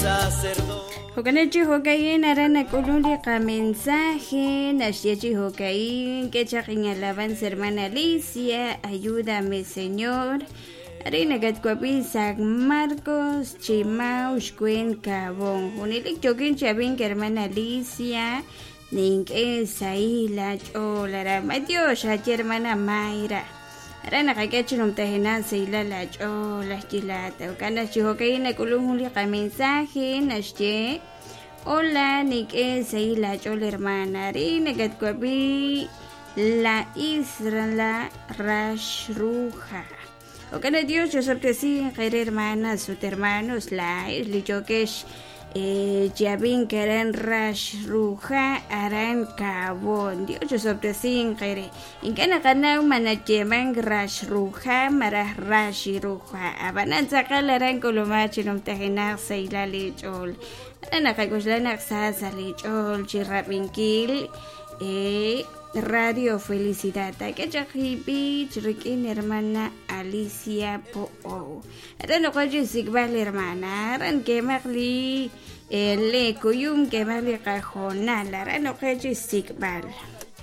Sacerdote. Jo'kan chi jo'ka'in aran nak'ulun li qamensaje naxye chi jo'ka'in k'e chaq inalabanza hermana Alicia, ayúdame Señor. Arin nakatwab'i San Marcos, Chimau, Xwen, Kabon. Junelik yookin chi ab'ink hermana Alicia, nink'e sahil aach'ool aran. Matiox aye hermana Mayra. Aran naqak'e chi numtajenaq sahilal aach'ool axye laat. Jo'kan naq chi jo'ka'in nak'ulun jun li qamensaje naxye Hola, nink'e sahil aach'ool hermana. Arin nakatwab'i La Isla Raxruja. Jo'kan naq Dios chosob'tesinq eere hermanas ut hermanos laa'ex li yookex chi ab'ink aran Raxruja aran Kabon. Dios chosob'tesinq eere. Ink'a' naqanaw ma nayeemank Raxruja malaj Raxiruja. Ab'anan tz'aqal aran k'ulumaq chi numtajenaq sahilal eech'ool. Aran naqak'oxla naq sa sa' leech'ool chi rab'inkil Radio Felicidad. Taak'e chaq b'ich rik'in hermana Alicia Po'o. Aran noqo chi xsik'b'al hermana. Aran kemaq li le kuyum kemaq li qahoonal. Aran noqo chi xsik'b'al.